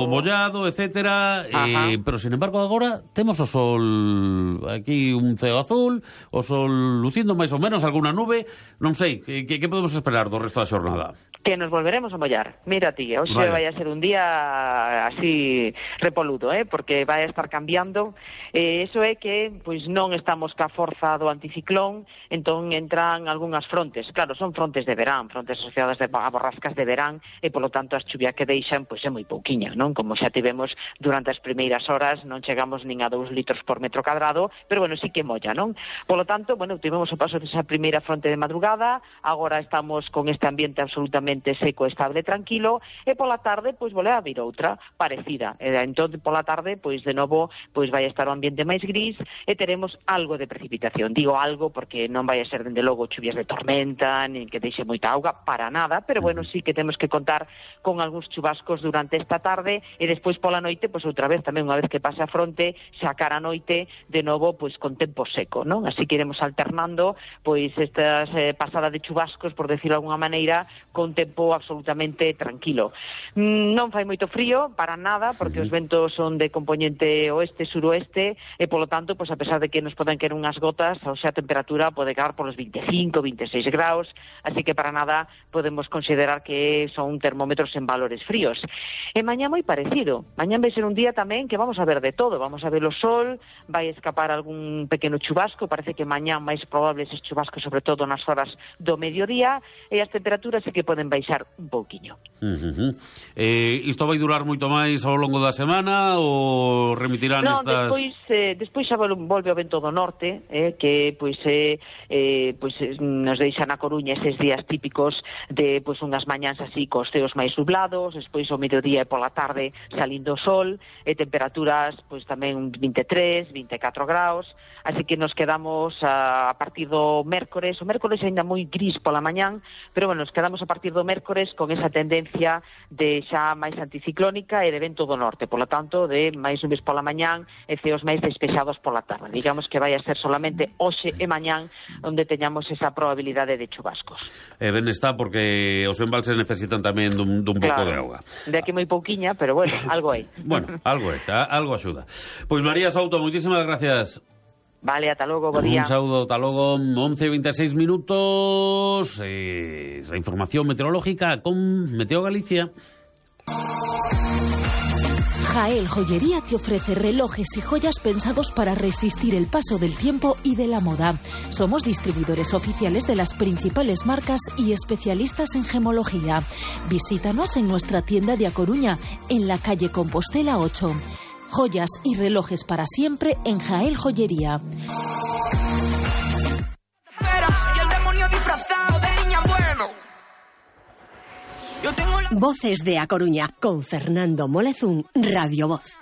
o mollado, etcétera, pero sin embargo agora temos o sol aquí, un ceo azul, o sol lucindo máis ou menos, alguna nube, non sei, que podemos esperar do resto da xornada? Que nos volveremos a mollar. Mira ti, hoxe vai a ser un día así repoludo, porque vai a estar cambiando. Eso é que pois non estamos ca forza do anticiclón, entón entran algunhas frontes. Claro, son frontes de verán, frontes asociadas a borrascas de verán, e polo tanto as chuvias que deixan pois é moi pouquiña, non? Como xa tivemos durante as primeiras horas, non chegamos nin a 2 litros por metro cadrado, pero bueno, sí que molla, non? Polo tanto, bueno, tivemos o paso desa primeira fronte de madrugada, agora estamos con este ambiente absolutamente seco, estable, tranquilo, e pola tarde, pois volve a vir outra parecida. Entón, pola tarde, pois de novo, pois vai estar o ambiente máis gris e teremos algo de precipitación. Digo algo porque non vai a ser, dende logo, chuvias de tormenta, nin que deixe moita auga, para nada, pero bueno, sí que temos que contar con algúns chubascos durante esta tarde e despois pola noite, pois outra vez tamén, unha vez que pase a fronte, xa cara a noite, de novo, pois con tempo seco, non? Así que iremos alternando, pois estas pasada de chubascos, por decirlo de alguna maneira, con tempo absolutamente tranquilo. Non fai moito frío, para nada, porque os ventos son de componente oeste-suroeste, e polo tanto, pois a pesar de que nos poden caer unhas gotas, ou sea, a temperatura pode caer polos 25, 26 graus, así que para nada podemos considerar que son termómetros en valores fríos. E mañá moi parecido. Mañá vai ser un día tamén que vamos a ver de todo. Vamos a ver o sol, vai escapar algún pequeno chubasco, parece que mañá máis probable eses chubascos, sobre todo nas horas do mediodía, e as temperaturas sí que poden baixar un pouquiño. Isto vai durar moito máis ao longo da semana ou remitirán estas... Despois xa volve o vento do norte, que pois nos deixa na Coruña eses días típicos de pois unhas mañáns así cos ceos máis nublados, despois ao mediodía e pola tarde salindo o sol, e temperaturas pois tamén 23, 24 graus, así que nos quedamos a partir do mércores. O mércores ainda moi gris pola mañán, pero bueno, nos quedamos a partir do mércores con esa tendencia de xa máis anticiclónica e de vento do norte, polo tanto, de máis nubes pola mañán e ceos máis despexados pola tarde. Digamos que vai a ser solamente hoxe e mañán onde teñamos esa probabilidade de chubascos. Ben está, porque os embalses necesitan tamén dun pouco de auga. De aquí moi pouquiña, pero bueno, algo hai. Bueno, algo é, algo axuda. Pois María Souto, moitísimas gracias. Vale, ata logo, bo día. Un saúdo, ata logo, 11:26 minutos. Esa información meteorológica con Meteo Galicia. Jael Joyería te ofrece relojes y joyas pensados para resistir el paso del tiempo y de la moda. Somos distribuidores oficiales de las principales marcas y especialistas en gemología. Visítanos en nuestra tienda de A Coruña, en la calle Compostela 8. Joyas y relojes para siempre en Jael Joyería. Voces de A Coruña con Fernando Molezún, Radio Voz.